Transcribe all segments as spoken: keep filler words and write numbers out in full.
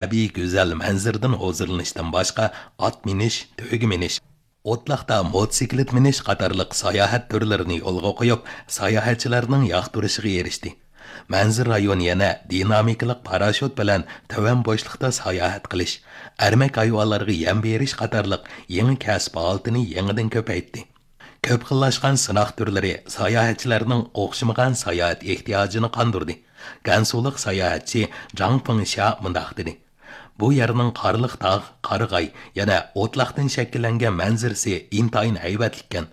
تەبىئىي گۈزەل مەنزىرىدىن ھۇزۇرلىنىشتىن باشقا، ئات مىنىش، تۆگە مىنىش، ئوتلاقتا موتوسىكلىت مىنىش قاتارلىق ساياھەت تۈرلىرىنى يولغا قويۇپ، ساياھەتچىلەرنىڭ ياقتۇرۇشىغا ئېرىشتى. مەنزىرە رايونى يەنە دىنامىكىلىق پاراشوت بىلەن تۆۋەن بوشلۇقتا ساياھەت قىلىش، ئەرمەك ھايۋانلارغا يەم بېرىش قاتارلىق يېڭى كەسىپ ھالىتىنى يېڭىدىن كۆپەيتتى. كۆپ خىللاشقان سىناق تۈرلىرى ساياھەتچىلەرنىڭ ئوخشىمىغان ساياھەت ئېھتىياجىنى قاندۇردى. گەنسۇلۇق ساياھەتچى جاڭ فېڭشيا مۇنداق دېدى: «بۇ يەرنىڭ قارلىق تاغ، قارىغاي، يەنە ئوتلاقتىن شەكىللەنگەن مەنزىرىسى ئىنتايىن ھەيۋەتلىككەن.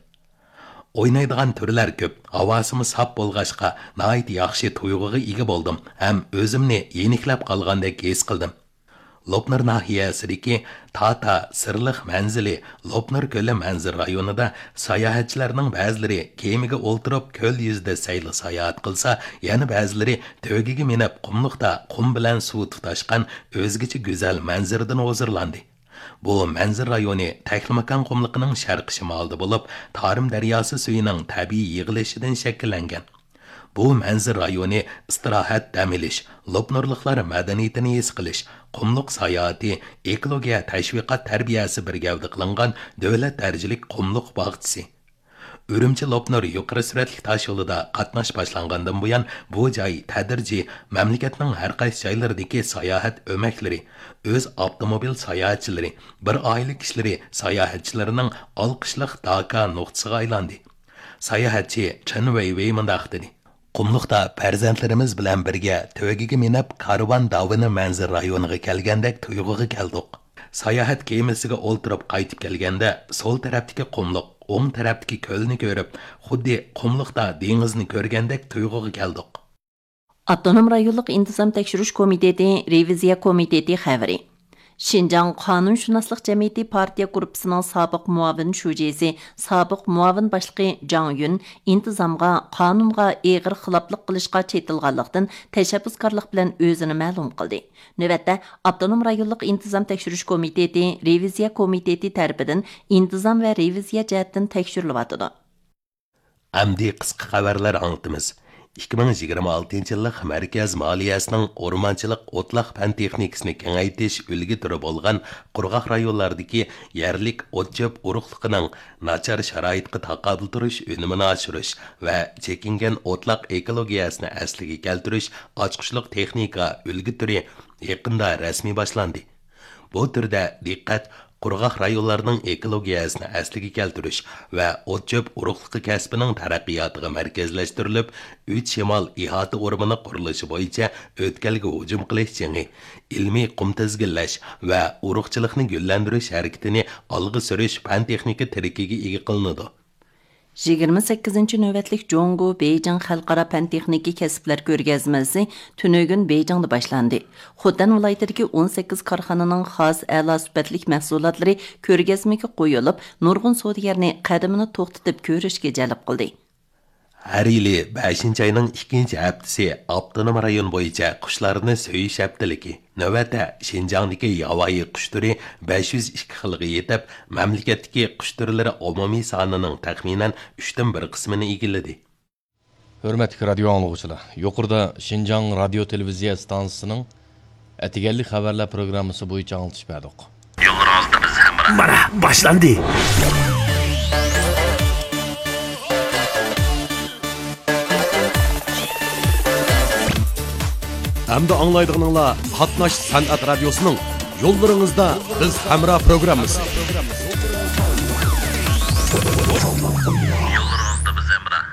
ئوينايدىغان تۈرلەر كۆپ، ھاۋاسىمۇ ساپ بولغاچقا، ناھايىتى ياخشى تۇيغۇغا ئىگە بولدۇم ھەم ئۆزۈمنى يېنىكلەپ قالغاندەك ھېس قىلدىم.» لوپنۇر ناھىيەسىدىكى تاتا سىرلىق مەنزىلى لوپنۇر كۆلى مەنزىرە رايونىدا ساياھەتچىلەرنىڭ بەزىلىرى كېمىگە ئولتۇرۇپ كۆل يۈزىدە سەيلە ساياھەت قىلسا، يەنە بەزىلىرى تۆگىگە مىنىپ قۇملۇقتا قۇم بىلەن سۇ تۇتاشقان ئۆزگىچە گۈزەل مەنزىرىدىن ھۇزۇرلاندى. بۇ مەنزىرە رايونى تەكلىماكان قۇملۇقىنىڭ شەرقىي شىمالىدا بولۇپ، تارىم دەرياسى سۈيىنىڭ تەبىئىي يىغىلىشىدىن شەكىللەنگەن. بۇ مەنزىرە رايونى ئىستىراھەت، دەم ئېلىش، لوپنۇرلۇقلار مەدەنىيىتىنى ھېس قىلىش، قۇملۇق ساياھىتى، ئېكولوگىيە تەشۋىقات تەربىيەسى بىر گەۋدە قىلىنغان دۆلەت دەرىجىلىك قۇملۇق باغچىسى. ئۈرۈمچى لوپنۇر يۇقىرى سۈرئەتلىك تاش يولىدا قاتناش باشلانغاندىن بۇيان، بۇ جاي تەدرىجىي مەملىكەتنىڭ ھەر قايسى جايلىرىدىكى ساياھەت ئۆمەكلىرى، ئۆز ئاپتوموبىل ساياھەتچىلىرى، بىر ئائىلە كىشىلىرى ساياھەتچىلىرىنىڭ ئالقىشلىق داكا نۇقتىسىغا ئايلاندى. ساياھەتچى چېن ۋېيۋېي مۇنداق دېدى: «قۇملۇقتا پەرزەنتلىرىمىز بىلەن بىرگە تۆگىگە مىنىپ، كارۋان داۋىنى مەنزىرە رايونىغا كەلگەندەك تۇيغۇغا كەلدۇق. ساياھەت كېمىسىگە ئولتۇرۇپ قايتىپ كەلگەندە، سول تەرەپتىكى قۇملۇق، ئوڭ تەرەپتىكى كۆلنى كۆرۈپ، خۇددى قۇملۇقتا دېڭىزنى كۆرگەندەك تۇيغۇغا كەلدۇق.» ئاپتونوم رايونلۇق ئىنتىزام تەكشۈرۈش كومىتېتى، رېۋىزىيە كومىتېتى خەۋىرى. شىنجاڭ قانۇنشۇناسلىق جەمئىيىتى پارتىيە گۇرۇپپىسىنىڭ سابىق مۇئاۋىن شۇجىسى، سابىق مۇئاۋىن باشلىقى جاڭ يۈن ئىنتىزامغا، قانۇنغا ئېغىر خىلاپلىق قىلىشقا چېتىلغانلىقتىن، تەشەببۇسكارلىق بىلەن ئۆزىنى مەلۇم قىلدى. نۆۋەتتە، ئاپتونوم رايونلۇق ئىنتىزام تەكشۈرۈش كومىتېتى، رېۋىزىيە كومىتېتى تەرىپىدىن ئىنتىزام ۋە رېۋىزىيە جەھەتتىن تەكشۈرۈلۈۋاتىدۇ. ئەمدى قىسقا خەۋەرلەر ئاڭلىتىمىز. ئىككى مىڭ يىگىرمە ئالتىنچى يىللىق مەركەز مالىيەسىنىڭ ئورمانچىلىق ئوتلاق پەن تېخنىكىسىنى كېڭەيتىش ئۈلگە تۈرى بولغان قۇرغاق رايونلاردىكى يەرلىك ئوت-چۆپ ئۇرۇقلۇقىنىڭ ناچار شارائىتقا تاقابىل تۇرۇش ئۈنۈمىنى ئاشۇرۇش ۋە چېكىنگەن ئوتلاق ئېكولوگىيەسىنى ئەسلىگە كەلتۈرۈش ئاچقۇچلۇق تېخنىكا ئۈلگە تۈرى يېقىندا رەسمىي باشلاندى. بۇ تۈردە دىققەت قۇرغاق رايونلارنىڭ ئېكولوگىيەسىنى ئەسلىگە كەلتۈرۈش ۋە ئوت-چۆپ ئۇرۇقلۇقى كەسپىنىڭ تەرەققىياتىغا مەركەزلەشتۈرۈلۈپ، ئۈچ شىمال ئىھاتە ئورمىنى قۇرۇلۇشى بويىچە ئۆتكەلگە ھۇجۇم قىلىش جېڭى، ئىلمىي قۇم تىزگىنلەش ۋە ئۇرۇقچىلىقنى گۈللەندۈرۈش ھەرىكىتىنى ئالغا سۈرۈش پەن-تېخنىكا تىرىكىگە ئىگە قىلىنىدۇ. يىگىرمە سەككىزىنچى نۆۋەتلىك جۇڭگو بېيجىڭ خەلقئارا پەن تېخنىكا كەسىپلەر كۆرگەزمىسى تۈنۈگۈن بېيجىڭدا باشلاندى. خوتەن ۋىلايىتىدىكى ئون سەككىز كارخانىنىڭ خاس ئەلا سۈپەتلىك مەھسۇلاتلىرى كۆرگەزمىگە قويۇلۇپ، نۇرغۇن سودىگەرنى قەدىمىنى توختىتىپ كۆرۈشكە جەلپ قىلدى. ھەر يىلى بەشىنچى ئاينىڭ ئىككىنچى ھەپتىسى ئاپتونوم رايون بويىچە قۇشلارنى سۆيۈش ھەپتىلىكى. نۆۋەتتە شىنجاڭدىكى ياۋايى قۇش تۈرى بەش يۈز ئىككى خىلغا يېتىپ، مەملىكەتتىكى قۇش تۈرلىرى ئومۇمىي سانىنىڭ تەخمىنەن ئۈچتىن بىر قىسمىنى ئىگىلىدى. ھۆرمەتلىك رادىيو ئاڭلىغۇچىلار، يۇقىرىدا شىنجاڭ رادىيو تېلېۋىزىيە ئىستانسىسىنىڭ ئەتىگەنلىك خەۋەرلەر پروگراممىسى بويىچە ئاڭلىتىش بەردۇق. يولىڭىزدا بىز ھەمراھ. مانا، باشلاندى. ئەمدى ئاڭلايدىغىنىڭلار قاتناش سەنئەت رادىيوسىنىڭ يوللىرىڭىزدا بىز ھەمراھ پروگراممىسى. يوللىرىڭىزدا بىز ھەمراھ.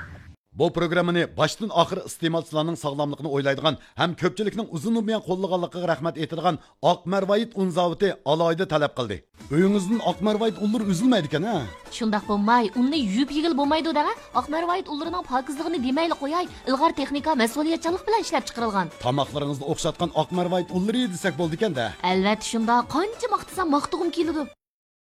بۇ پروگراممىنى باشتىن ئاخىر ئىستېمالچىلارنىڭ ساغلاملىقىنى ئويلايدىغان ھەم كۆپچىلىكنىڭ ئۇزۇن بۇيان قوللىغانلىقىغا رەھمەت ئېيتىدىغان ئاق مەرۋايىت ئۇن زاۋۇتى ئالاھىدە تەلەپ قىلدى. ئۆيىڭىزدىن ئاق مەرۋايىت ئۇنلىرى ئۈزۈلمەيدىكەن ھە؟ شۇنداق بولماي، ئۇننى يۇيۇپ يېگىلى بولمايدۇ دەڭە. ئاق مەرۋايىت ئۇنلىرىنىڭ پاكىزلىقىنى دېمەيلى قوياي، ئىلغار تېخنىكا، مەسئۇلىيەتچانلىق بىلەن ئىشلەپ چىقىرىلغان. تاماقلىرىڭىزدا ئوخشاتقان ئاق مەرۋايىت ئۇنلىرى دېسەك بولىدىكەن-دە. ئەلۋەتتە شۇنداق، قانچە ماختىسام ماختىغۇم كېلىدۇ.